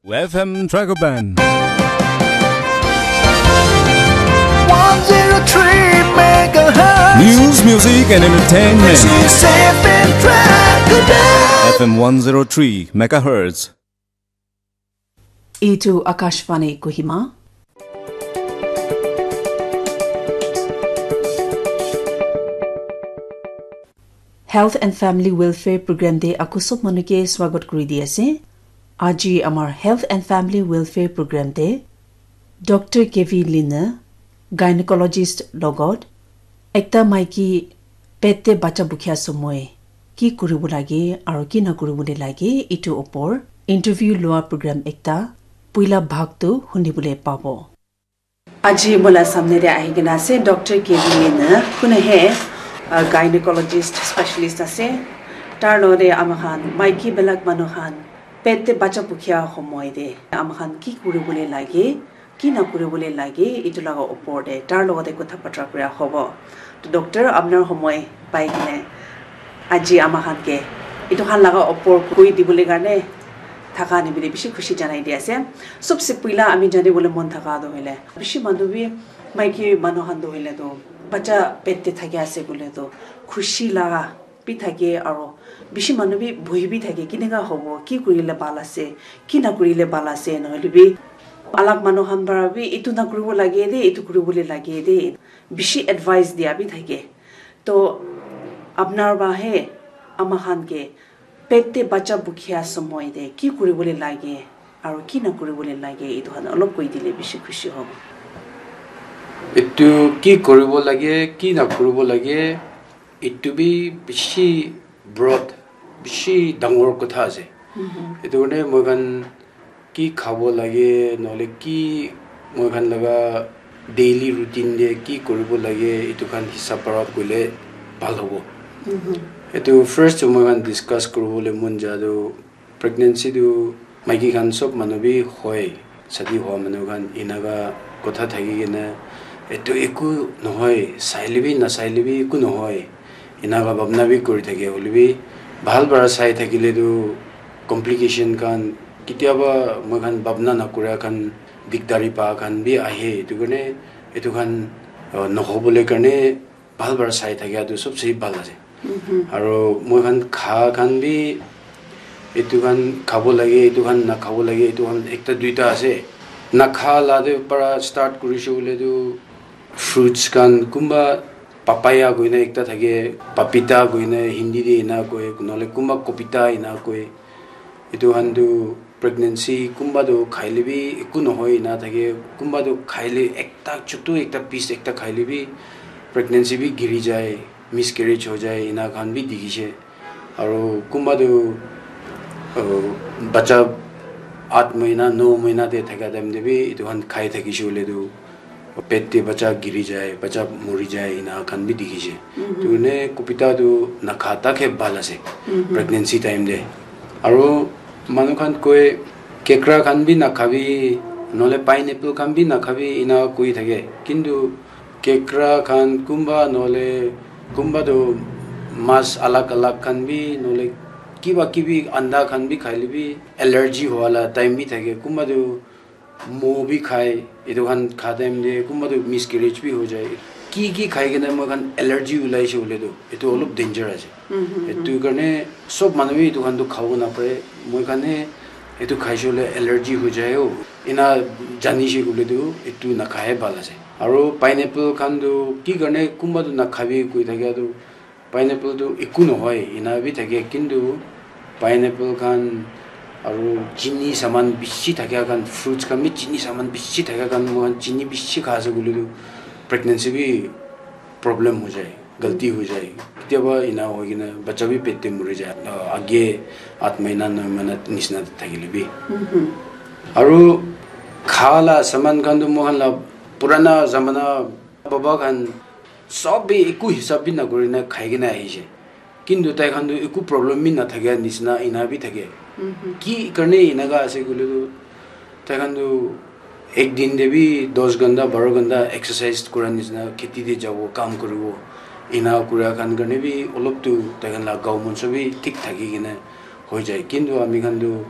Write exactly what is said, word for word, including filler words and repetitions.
F M Dragoban. one zero three megahertz. News, music, and entertainment. This is F M Dragoban. F M one zero three megahertz. Itu Akashvani Kohima. Health and Family Welfare Program te aku sob manu ke swagat kuri di ase. Aji amar Health and Family Welfare Program te Doctor K V Lina, gynecologist logot, ekta maiki pet te bacha bukhia somoi ki kuribo lage aro ki na kuribo le lage itu opor interview loa program ekta puila bhag tu hunibole pabo. Aji mola samne de ahi kena ase Doctor K V Lina, kune he uh, gynecologist specialist ase. Tar lode ama khan maiki belak manu khan pet te bacha bukhia homoi de ama khan ki kuribole lage, ki na kuribole lage itu laga opor de tar logode kotha batra kura hobo. To doctor, apnar homoi pai kene aji ama khan ke itu khan laga opor koi dibole karne thaka ni bile bishi khushi janai di ase. Sobse puila ami jani bole mon thaka do hoile bishi manu bi maiki manu khan do hoile do bacha pet te thaki ase bole do khushi laga bi thake aro bishi manu bi bohi bi thake kineka hobo, ki kurile bhal ase, ki na kurile bhal ase, nohole bi alag manu khan para bi itu na kuribo lage de, itu kuribole lage de, bishi advice dia bi thake. To apnar ba he ama khan ke pet te bacha bukhia somoi de ki kuribole lage aro ki na kuribole lage itu khan olop koi dile bishi khushi hobo. Etu ki kuribo lage, ki na kuribo lage, etu bi bishi broad, bishi dangor kotha ase. Etu karne moi khan ki khabo lage, nohole ki moi khan laga daily routine de ki kuribo lage, etu khan hisab para koile bhal hobo. Etu first moi khan discuss kuribole mon ja tu pregnancy tu maiki khan sob manu bi hoi, shadi hua manu khan enaga kotha thaki kena etu eku nohoi, saile bi nasaile bi eku nohoi, enaga bhabna bi kuri thake, hoile bi bhal para sai thakile tu complication khan ketiaba moi khan bhabna nakura khan dikdari pa khan bi ahe, etu karne etu khan uh, nohobole karne bhal para sai thakia tu sobse bhal ase. Aro moi khan kha khan bi etu khan khabo lage, etu khan nakhabo lage, etu khan ekta duita ase. Nakha la te para start kurishe hoile tu fruits khan kunba papaya koina ekta thake, papita koina Hindi te ena koi, nohole kunba kopita ena koi. Etu khan tu pregnancy kunba tu khaile bi eku nohoi ena thake, kunba tu khaile ekta chutu ekta piece ekta khaile bi pregnancy bi giri jai, miscarriage ho jai, ena khan bi dikhishe. Aro kunba tu uh, bacha at mahina, no mahina te thaka time te bi etu khan khai thakishe hoile tu pet te bacha giri jai, bacha mori jai, ena khan bi dikhishe. Tu ne kopita tu nakha thake bhal ase pregnancy time te. Aro manu khan koi kekra khan bi nakhabi, nohole pineapple khan bi nakhabi, ena koi thake. Kintu kekra khan kunba nohole kunba tu mas alag alag khan bi, nohole kiba kibi anda khan bi khaile bi allergy hua la time bi thake. Kunba tu mo bi khai, etu khan kha time te kunba tu miscarriage bi ho jai. Ki ki khai kena moi khan allergy ulaishe hoile tu etu olop danger ase. Etu karne sob manu bi etu khan tu khabo napare. Moi khan he etu khaishe hoile allergy ho jai o. Ena janishe koile tu etu nakhae bhal ase. Aro pineapple khan tu ki karne kunba tu nakhabi koi thakia tu pineapple tu eku nohoi, ena bi thake, kintu pineapple khan aro chini saman bishi thakia khan, fruits khan bi chini saman bishi thakia khan, moi khan chini bishi kha ase koile tu pregnancy bi problem ho jai, galti ho jai. Ketiaba ena hoi kena bacha bi pet te mori jai. Ah, age at mahina, noi mahina nishina thakile bi. Aro kha la saman khan tu moi khan la purana zamana baba khan sob bi eku hisab bi nakuri na khai kena ahishe. Kintu tai khan tu eku problem bi nathakia nishina ena bi thake. Ki karne enaka ase koile tu tai khan tu ek din te bi dos ghanta, baro ghanta exercise kura nishina kheti te jabo, kam kuribo. Ena kura khan karne bi olop tu tai khan la gao monso bi thik thaki kena hoi jai. Kintu ami khan tu